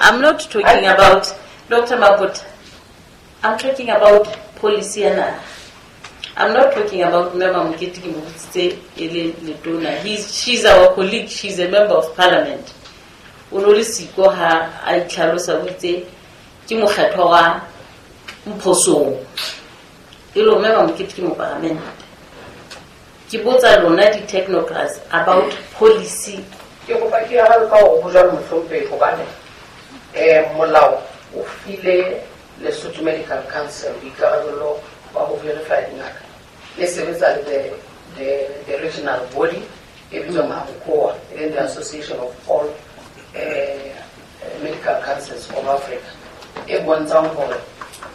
I'm not talking about Dr. Mabota. I'm talking about policy ya naha. I'm not talking about Mme Mamokete, ke mo botsitse e le letona. She's our colleague, she's a member of parliament. O no le siko ha a itlhalosa, o itse ke mokgethwa wa Mphosong. E le Mme Mamokete ke mopalamente. Ke botsa lona di-technocrats about policy. Ke kopa ke arabe ka hore ho jwalo, mohlomphehi, hobane molao o file Lesotho Medical Council boikarabelo ba ho verify dingaka e sebetsa le the regional body e bitswang AMCOA, e leng the Association of All Medical Councils of Africa, e bontshang hore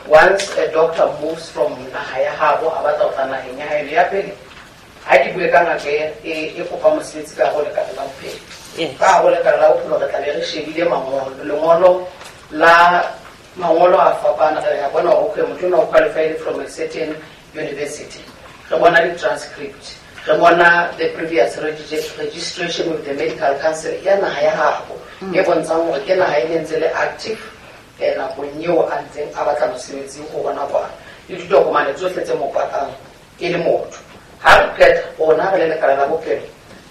once a doctor moves from naha ya habo a batla ho tla naheng ya haeno ya pele, ha ke bue ka ngaka e kopa mosebetsi ka ho lekala la bophelo, ka ho lekala la bophelo re tla be re shebile mangolo, lengolo la mangolo a fapana. Re ya bona hore okay, motho ona o qualified from a certain university, re bona di-transcript, re bona the previous registration with the medical council ya naha ya habo e bontshang hore ke naha e ne ntse le active nakong eo a ntseng a batla mosebetsi ho bona kwana, le ditokomane tsohle tse mo pakang e le motho. Ha re qeta, rona re le lekala la bophelo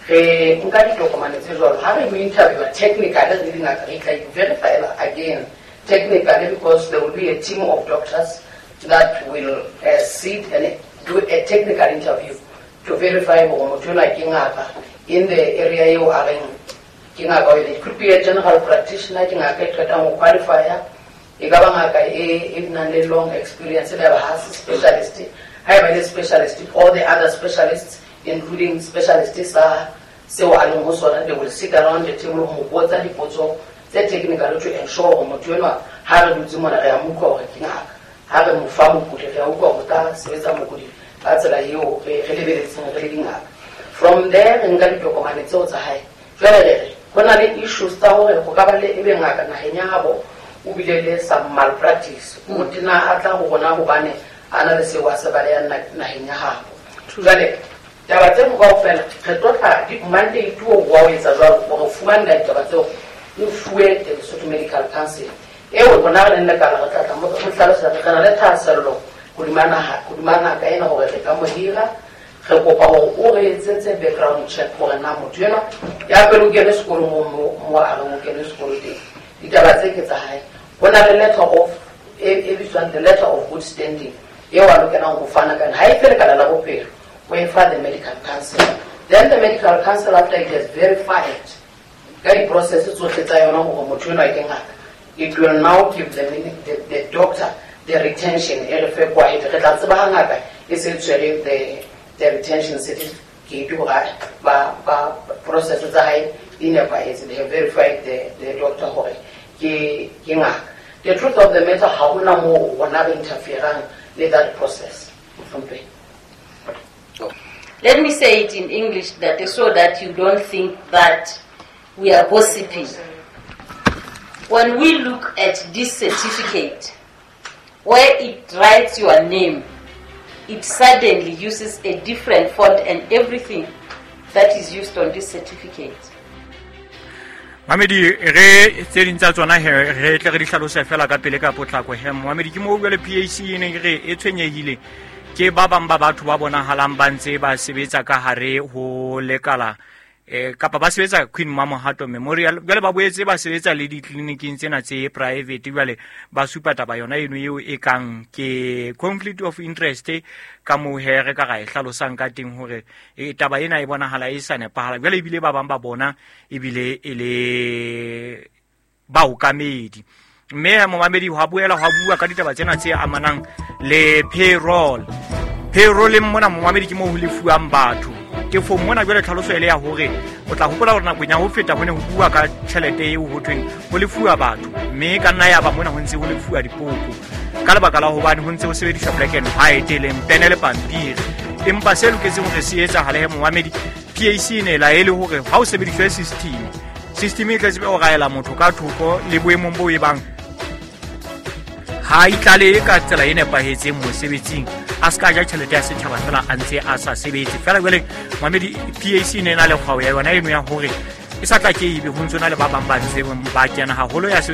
re nka ditokomane tse jwalo. Ha re mo interviewa technically, re le dingaka re tla verify again technically, because there will be a team of doctors that will sit and do a technical interview to verify hore motho enwa ke ngaka in the area eo a reng ke ngaka o. It could be a general practitioner, ke ngaka e qetang ho qualifya, e ka ba ngaka e nang le long experience, le ba ha se specialist. Ha e ba le specialist, all the other specialists, including specialist sa seo a leng ho sona, they will sit around the table ho botsa dipotso tse technical to ensure hore motho enwa, ha re dutse mona, re a mo utlwa hore ke ngaka. Ha re mo fa mokudi, re a utlwa hore ka sebetsa mokudi ka tsela eo re lebeletseng re le dingaka. From there re nka ditokomane tseo tsa hae. Jwale re re ho na le issues tsa hore ho ka ba le ebe ngaka naheng ya habo o bile le some malpractice, o tena a tla ho rona hobane a na le seo a se balehang naheng ya habo. Jwale taba tseo kaofela re tlo tla mandate o wa o etsa jwalo hore fumanela ditaba tseo, o fuwe the Lesotho Medical Council eo rona re leng lekala re tla tla mo hlalosetsa re na le thahasello hodima naha, hodima ngaka ena, hore re ka mo hira. Re kopa hore o re etsetse background check hore na motho enwa ya pele o kene sekolo mo a reng o kene sekolo teng, ditaba tse ke tsa hae. Ho na le letter of e bitswang the letter of good standing eo a lokelang ho fana ka yona. Ha e fe lekala la bophelo, o e fa the medical council. Then the medical council, after it has verified ka di-process tsohle tsa yona hore motho enwa ke ngaka, it will now give the doctor the retention, e re fe quiet. Re tla tseba ha ngaka e se tshwere the retention certificate hore ba process tsa hae di nepahetse, they have verified the doctor hore ke ngaka. The truth of the matter, ha hona moo rona re interferang le that process, mohlomphehi. Let me say it in English that so that you don't think that we are gossiping. When we look at this certificate, where it writes your name, it suddenly uses a different font and everything that is used on this certificate. Mamedi, re tse ding tsa tsona he re tle re di hlalose fela ka pele ka potlako he. Mamedi, ke mo jwale PAC e neng re e tshwenyehile ke ba bang ba batho ba bonahalang ba ntse ba sebetsa ka hare ho lekala kapa ba sebetsa Queen Mamohato Memorial, jwale ba boetse ba sebetsa le ditleliniking tsena tse private. Jwale ba supa taba yona eno eo e kang ke conflict of interest, ka moo he re ka ra e hlalosang ka teng hore taba ena e bonahala e sa nepahala. Jwale ebile ba bang ba bona ebile e le baokamedi. Mme momamedi, hwa boela hwa bua ka ditaba tsena tse amanang le payroll. Payrolleng mona, momamedi, ke moo ho lefuwang batho tefong mona. Jwale tlhaloso e le ya hore o tla hopola hore nakong ya ho feta ho ne ho bua ka tjhelete eo ho thweng ho lefuwa batho, mme ka nna ya ba mona ho ntse ho lefuwa dipoko ka lebaka la hobane ho ntse ho sebediswa black and white, e leng pene le pampiri. Empa se loketseng hore se etsahale he, momamedi, PAC e ne laele hore ha o sebediswe system e tla tsebe ho raela motho ka thoko le boemong bo e bang ha itlalehe ka tsela e nepahetseng mosebetsing, a se ka ja tjhelete ya setjhaba fela a ntse a sa sebetse fela. Jwale mamedi, PAC e ne e na le kgwao ya yona eno ya hore e sa tla ke ebe ho ntse na le ba bang ba ntse ba kena haholo ya sebetsa.